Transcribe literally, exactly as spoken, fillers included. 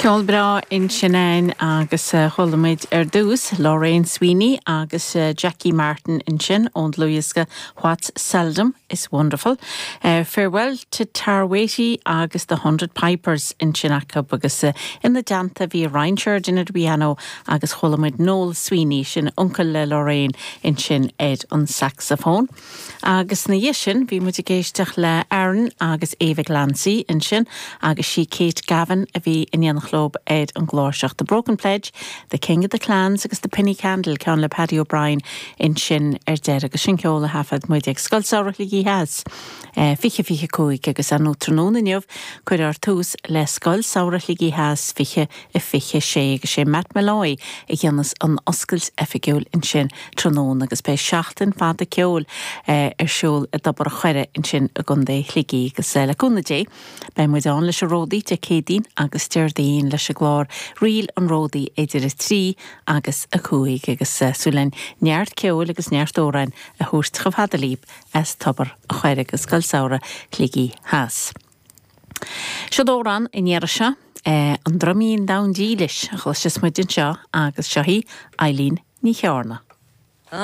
Ceol breá ansin againn agus chuala muid ar dtús Lorraine Sweeney agus Jackie Martin ansin ón dlúthdhiosca What's Seldom is Wonderful. Uh, farewell to Tarwati agus the Hundred Pipers ansin acu agus uh, ina dteannta bhí Ryan Sheridan ar piano agus chuala muid Noel Sweeney sin uncail le Lorraine ansin ar an saxophone. Agus ina dhiaidh sin bhí muid ag éisteacht le Aaron agus Eva Glancy ansin agus sí Kate Gavin a bhí in éineacht leo ar an gcláirseach The Broken Pledge, The King of the Clans agus The Penny Candle ceann le Paddy O'Brien ansin ar deireadh agus sin ceol a thaifead muid ag Scoil Samhraidh Shligigh Theas. Fiche fiche cúig agus an tráthnóna inniu cuirfear tús le Scoil Samhraidh Shligigh Theas fiche a fiche sé agus sé Matt Malloy a dhéanfas an oscailt oifigiúil ansin tráthnóna agus beidh seachtain fada ceoil ar siúl i dTobar an Choire ansin i gContae Shligigh agus le cúnamh Dé, Beidh muid ann leis an Ródaí Dé Céadaoin agus Déardaoin leis an gclár Ríl an Ródaí idir a trí agus a cúig agus súil linn neart ceoil agus neart amhrán a thabhairt chomh fada libh as Tobar an Choire agus Scoil Samhraidh Shligigh Theas. Seo amhrán an iarraidh seo an Droimín Donn Dílis a chloisfeas muid anseo agus seo í Eileen Ní Chearna.